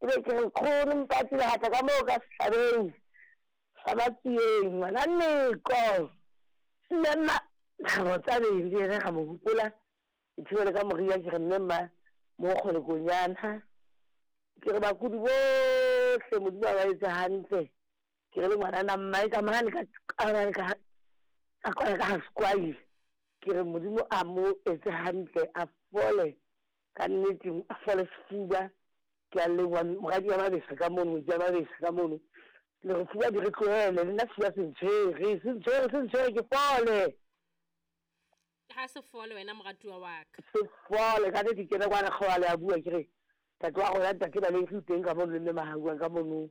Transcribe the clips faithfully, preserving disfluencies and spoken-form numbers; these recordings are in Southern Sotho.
Ebe ke re nkgono Mpati Lehata ka moo ka sehlabeng sa Matsieng ngwana Neko. Mme mma Thabo Tsabeng le yena ra mo hopola. Ke thibele ka moria ke re mme mma mo kgole konyana. Ke re bakudi bohle Modimo a ba etse hantle. Ke re le ngwanana mmae ka mane ka ka ka ka kwana ka ha Sekwai. Ke re Modimo a mo etse hantle a fole ka nnete a fole sefuba. Ke a leboha moradi wa Mabesa ka mono, ngwetsi ya Mabesa ka mono. Le re fuba di re tlohele, le nna sefuba se ntshwere, se ntshwere, se ntshwere ke fole. Ha se fole wena moratuwa wa ka. Se fole ka nnete ke kena kwana kgobalo a bua ke re ntate wa rona ntate Baleng o teng ka mono le mme Mahauang ka mono.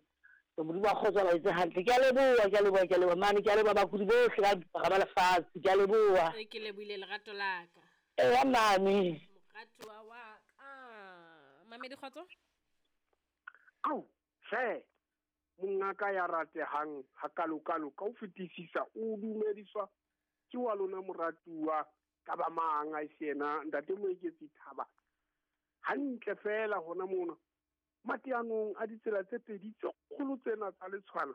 Modimo wa kgotso a ba etse hantle. Ke a leboha, ke a leboha, ke a leboha mane, ke a leboha bakudi bohle ka bophara ba lefatshe. Ke a leboha. E ke lebohile lerato la ka. Eya mame. Moratuwa wa ka. Mamedi kgotso. Au, hle, mongaka ya ratehang hakalokalo ka ho fetisisa o dumediswa ke wa lona moratuwa ka ba mang a se yena ntate Moeketsi Thaba. Hantle fela hona mona mateanong a ditsela tse pedi tse kgolo tsena tsa Letshwana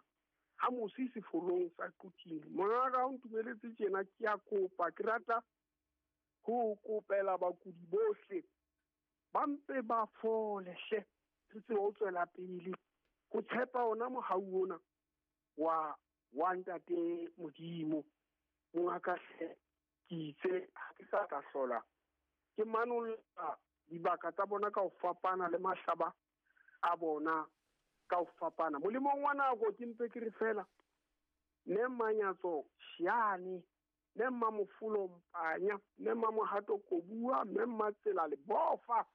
ha mosi sefolong sa Quthing. Mongaka o ntumeletse tjena ke a kopa, ke rata ho kopela bakudi bohle ba mpe ba fole hle. Re tsebe ho tswela pele ho tshepa ona mohau ona wa wa ntate Modimo. Mongaka hle ke itse ha ke sa tla hlola ke manolla dibaka tsa bona ka ho fapana le mahlaba a bona ka ho fapana. Molemong wa nako ke mpe ke re fela mme Manyatso Shiane, mme Mmamofulo Mpanya, mme Mmamohato Kobua, mme Mmatsela Lebofa,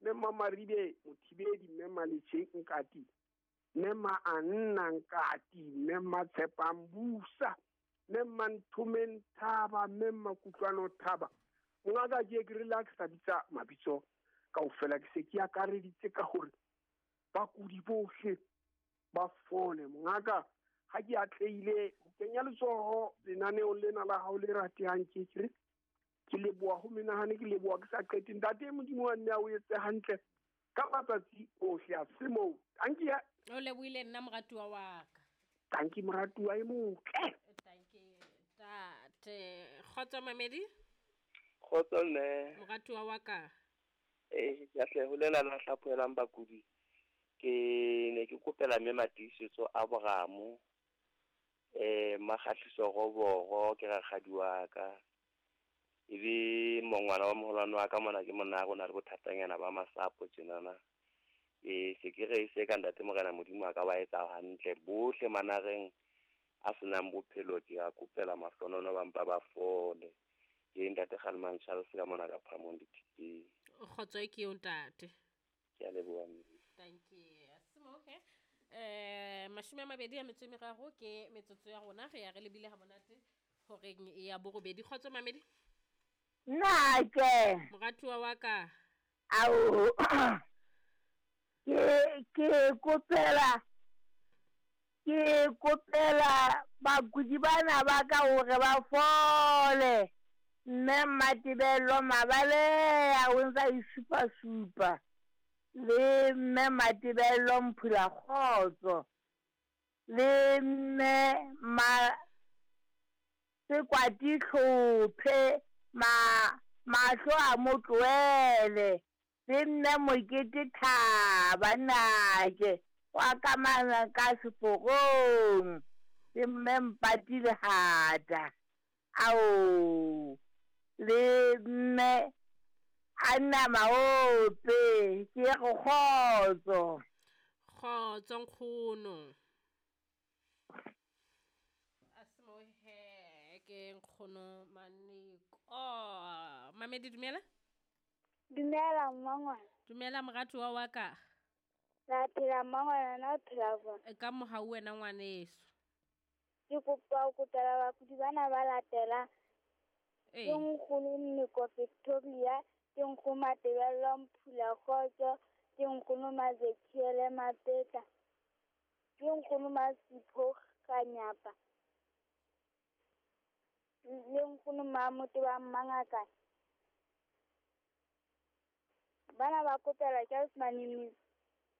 mme Mmamaribe Mothibedi, mme Mmaletjheng Nkati, mme Mmaanna Nkati, mme Mmatshepang Busa, mme Mmanthomeng Thaba, mme Mmakutlwano Thaba. Mongaka ke ke relax ka bitsa mabitso kaofela, ke se ke akareditse ka hore bakudi bohle ba fole. Mongaka ha ke atlehile ho kenya letsoho lenaneong lena la hao le ratehang, ke ke re ke leboha ho menahane, ke leboha ke sa qete. Ntate Modimo wa nne a o etse hantle ka matsatsi ohle a se moo. Tanki ya O lebohile nna moratuwa wa ka. Tanki moratuwa e motle. Tanki tate. Kgotso Mamedi. Kgotso mme. Moratuwa wa ka. Eh, ke tle ho lena la hlaphoelang bakudi. Ke ne ke kopela mme Matiisetso a Boramo. Eh, Makgahliso Roboro ke rakgadi wa ka. Ebe mongwana wa moholwane wa ka mona ke monna rona re bothatanyana ba masapo tjenana. E se ke re se ka ntate Morena Modimo a ka ba etsa hantle bohle manareng a senang bophelo ke a kopela mahlonono ba mpa ba fole. Ke ntate Kgalmang Charles ka mona ka Phamong dithipeng. Kgotso ke yo ntate. Ke a leboha. Thank you. Simo he. Eh mashome a mabedi a metso e meraro ke metsotso ya rona re ya re lebile ha monate horeng ya borobedi. Kgotso Mamedi. Nna ke moratuwa wa ka. Ao ke ke kopela ke kopela bakudi bana ba ka hore ba fole. Mme Mmatebello Mabaleya o ntsa isupa supa le mme Mmatebello Mphula Kgotso le mme ma Sekwati Tlhophe ma mahlo a mo tlohele le mme Mokete Thaba nake wa ka mana ka seporong le mme Mpati Lehata ao le mme Anna Maope ke go kgotso. Kgotso nkgono. Asimo he ke nkgono Maneko. Oh, Mamedi dumela. Dumela mmangwana. Dumela moratuwa wa ka. La phela mmangwana na phela bona. Ka mohau wena ngwaneso. Ke kopa ho kopela bakudi bana ba latela. Ke nkgono Nniko Victoria, ke nkgono Matebello Mphula Kgotso, ke nkgono Mazekiele Mapetla, ke nkgono Masipho Kganyapa, le nkgono Mamoto wa Mmangakane. Bana ba kopela ke Osman